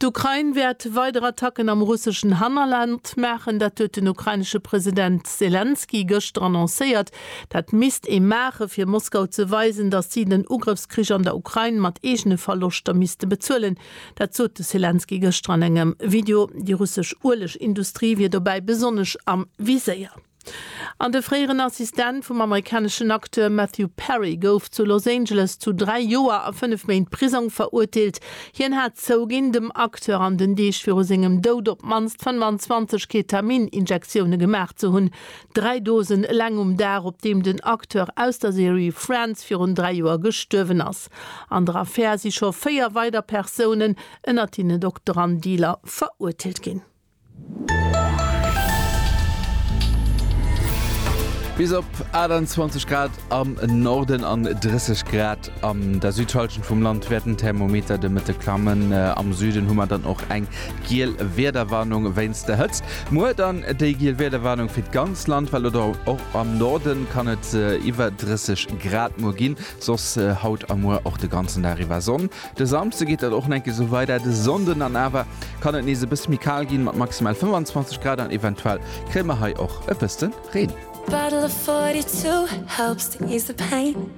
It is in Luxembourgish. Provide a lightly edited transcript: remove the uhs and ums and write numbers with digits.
D'Ukrain wäert weider Attacken am russeschen Hannerland maachen. Dat huet den ukrainesche President Selenskyj gëschter annoncéiert. Dat misst ee maachen, fir Moskau ze weisen, datt si den Ugrëffskrich an der Ukrain mat eegene Verloschter misste bezuelen. Dat sot de Selenskyj gëschter an engem Video. Déi russesch Uelegindustrie wier dobäi besonnesch am Viséier. An de fréieren Assistent vum amerikaneschen Acteur Matthew Perry gouf zu Los Angeles zu 3 Joer a 5 Méint Prisong verurteelt. Hien hat zouginn, dem Acteur an den Deeg viru sengem Doud op d'mannst 25 Ketamin-Injektioune gemaach ze hunn. Dräi Dosen eleng um Dag, op deem den Acteur aus der Serie Friends virun 3 Joer gestuerwen ass. An der Affär si scho 4 weider Persounen, ënnert hinne Dokter an Dealer, verurteelt ginn. Bis op 28 Grad am Norden an 30 Grad an der Südhallschent vum Land wäert den Thermometer de Mëtte klammen. Am Süden hu mer dann och eng giel Wiederwarnung wéinst der Hëtzt. Muer dann déi giel Wiederwarnung fir d'ganz Land, well oder och am Norden kann et iwwer 30 Grad muer ginn. Soss haut a muer och de ganzen Dag iwwer Sonn. De Samsde geet dat och nach eng Kéier esou weider, de Sonnden dann awer kann et nees e bësse méi kal ginn, mat maximal 25 Grad an eventuell kréie mer hei och e bësse Reen. Bottle of 42 helps to ease the pain.